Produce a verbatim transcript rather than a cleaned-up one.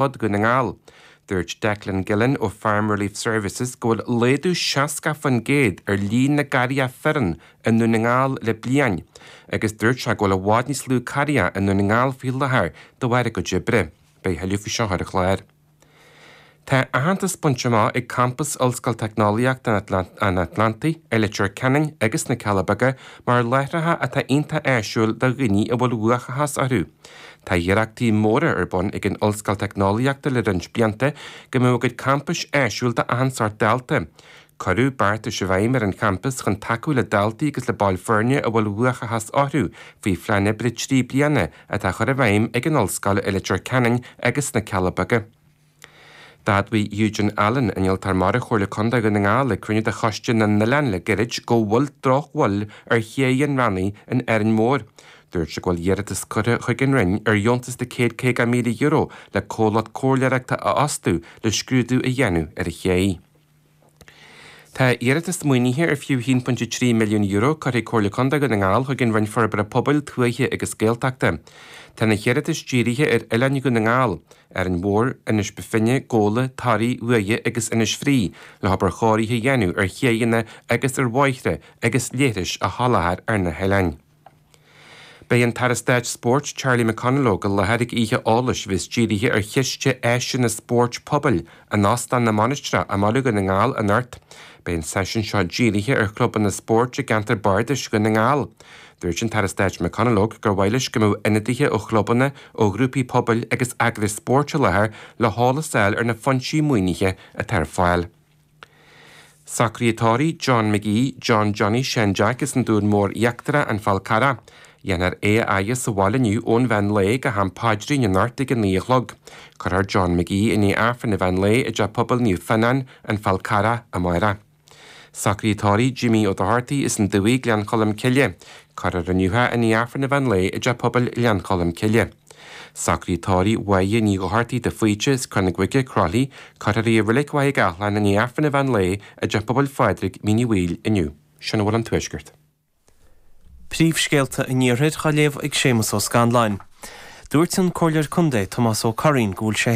fud Dhún na nGall. Dúirt Declan Gillen ó Farm Relief Services go bhfuil laghdú seasca faoin gcéad ar líon na gcarracha fireann i nDún na nGall le bliain, agus dúirt sé go bhfuil i bhfad níos lú carracha i nDún na nGall faoi láthair de bharr a gcuid oibre. Beidh tuilleadh faoi seo ar an chlár. Tá aitheantas bainte amach ag campas Ollscoil Teicneolaíochta an Atlantaigh i Leitir Ceanainn agus na Cealla Beaga mar láithreacha atá iontach áisiúil do dhaoine a bhfuil uathachas orthu. Tá iarrachtaí móra ar bun ag an Ollscoil Teicneolaíochta le roinnt blianta go mbeadh a gcuid campais áisiúil d'achan sórt dalta. Cuireadh beartais i bhfeidhm ar an champas chun tacú le daltaí agus le baill foirne a bhfuil uathachas orthu faoi phlean oibre trí bliana atá chur i bhfeidhm ag an Ollscoil i Leitir Ceanainn agus na Cealla Beaga. D'admhaigh Eugene Allen innealtóir mara Chomhairle Contae Dhún na nGall ag cruinniú de Choiste na nOileán le gairid go bhfuil drochbhail ar ché an Rannaigh in Árainn Mhór. Dúirt sé go bhfuil iarratas curtha chuig an Roinn ar dheontas de céad caoga míle euro le comhlacht comhairleoireachta a fhostú le scrúdú a dhéanamh ar an ché. Tá iarratas maoinithe ar fiú haon pointe trí milliún euro curtha ag Comhairle Contae Dhún na nGall chuig an Roinn Forbartha Pobail, Tuaithe agus Gaeltachta. Tá na hiarratais dírithe ar Oileáin Dhún na nGall, Árainn Mhór, Inis Bó Finne, Gabhla, Toraigh, Uaighe agus Inis Fraoigh le hobair chóirithe a dhéanamh ar chéanna agus ar bhóithre agus leithris a sholáthar ar na hoileáin. Beidh an tAire Stáit Spóirt Charlie McConalogue i láthair ag oíche eolais a bheas dírithe ar chiste áiseanna spóirt pobail in Óstán na Mainistreach i mBaile Dhún na nGall anocht. Beidh an seisiún seo dírithe ar chlubanna spóirt i gceantar Bardais Dhún na nGall. Dúirt an tAire Stáit McConalogue gur mhaith leis go mbeadh ionadaithe ó chlubanna, ó ghrúpaí pobail agus eagrais spóirt i láthair le heolas a fháil ar na foinsí maoinithe atá ar fáil. Socruithe tórraimh John McGee, John Johnny Sean Jack as an Dún Mór Íochtarach An Fál Carrach. Dhéanfar é a fhaire sa bhaile inniu ón mheán lae go ham paidrín anocht ag a naoi a chlog. Cuirfear John McGee i ndiaidh Aifreann an mheán lae i dteach pobail Naomh Fionnán, An Fál Carrach amárach. Socruithe tórraimh Jimmy Ó Dochartaigh as an Dumhaigh Gleann Cholm Cille. Cuirfear inniu é i ndiaidh Aifreann an mheán lae i dteach pobail Ghleann Cholm Cille. Socruithe tórraimh Mháire Ní Dhochartaigh de Faoite as Cor na Gcuige Crothlaí, cuirfear í i Reilig Mhaigh Gathlán i ndiaidh Aifreann an mheán lae i dteach pobail Phádraig Mín Uí Bhaoill inniu. Sin a bhfuil ón Tuaisceart. Príomhscéalta an Iarthair á léamh ag Séamus Ó Scanláin. Dúirt an Comhairleoir Contae Tomás Ó Curraoin go bhfuil sé